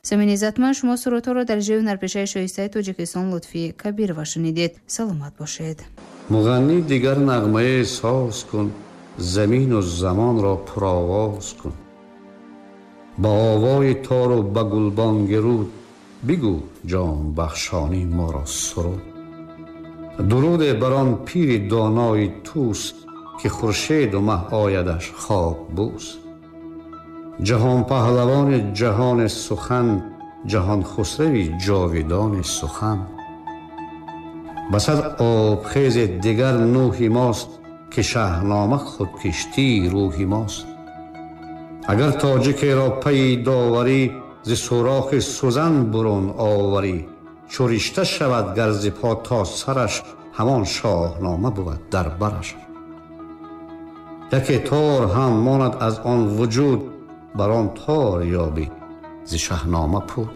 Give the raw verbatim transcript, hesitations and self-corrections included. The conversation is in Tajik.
Самини иззатманд, шумо сурудҳоро дар иҷрои ҳунарпешаи шоистаи Тоҷикистон Лутфӣ Кабирова шунидед. Саломат бошед. Муғаннӣ дигар нағмае соз кун, замину замонро пуровоз кун. Ба овои тору ба гулбонги руд бигӯ ҷонбахшонӣ моро суруд. Дуруде бар он пири донои Тӯс, ки хуршеду маҳ оядаш хок бӯс. Ҷаҳон паҳлавони ҷаҳони сухан, ҷаҳон хусрави ҷовидони сухан. Ба сад обхези дигар нӯҳи мост, ки шаҳнома худкиштии рӯҳи мост. Агар тоҷикеро пайи доварӣ, зи сӯрохи сӯзан бурун оварӣ, чу ришта шавад гар зи по то сараш, ҳамон шоҳнома бувад дар бараш. Яке тор ҳам монад аз он вуҷуд, бар он тор ёбӣ зи шаҳнома пуд.